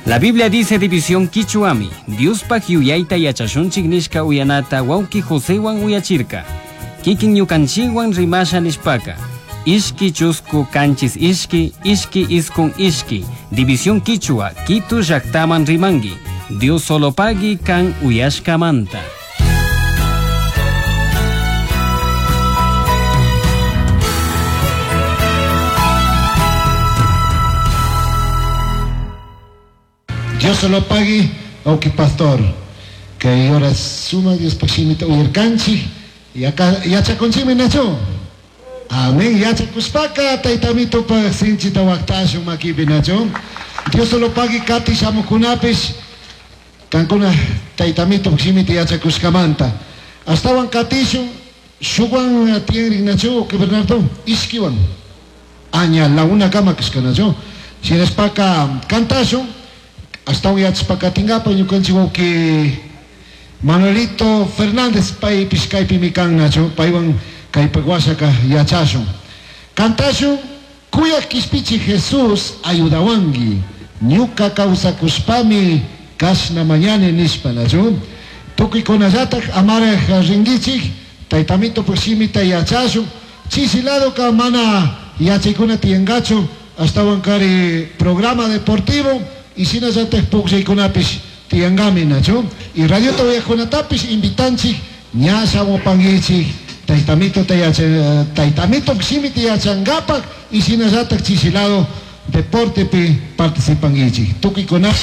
La Biblia dice división quichuami, Diospaj yuyayta yachashunchik nishka uyanata wawki Josewan uyachirka. Kikin ñukanchikwan rimasha nishpaka. Ishki chusku kanchis ishki, ishki iskun ishki, división quichua, Quito llaktaman rimangi. Dios solo pagui kan uyashkamanta. Dios se lo pague, auki pastor. Kay hora suma Dios pashimita uyarkanchik y acá yachakunchikmi nachu. Amén. Yachakushpaka taytamitupa sinchita waqtashun makipi nachu. Dios se lo pague kati shamukunapish kankuna taytamito shimita yachakushkamanta. Astawan katishun shuwan tiyanrin nachu, auki Bernardo, ishkiwan. Aña la una kama kashka nachu. Shinashpaka kantashun astawan yachashpa katingapa ñukanchik wawki Manuelito Fernández paypish kaypimi kan nachu paywan kaypak washaka yachashun. Kantashun kuyak kishpichi Jesús ayudawanki ñuka kawsakushpami kashna mañani nishpa nachu. Tukuykunallatak amaraj rinkichik taytamito shimita yachashun chishi ladoka mana yachaykuna tiyankachu astawan kari programa deportivo y shinallatak pukllaykunapish tiyankami nachu. Y radiota uyaqkunatapish invitanchik ña shamupankichik taytamito taytamito shimita yachankapak y shinallatak chishi lado deportepi participankichik. Tukuykunata.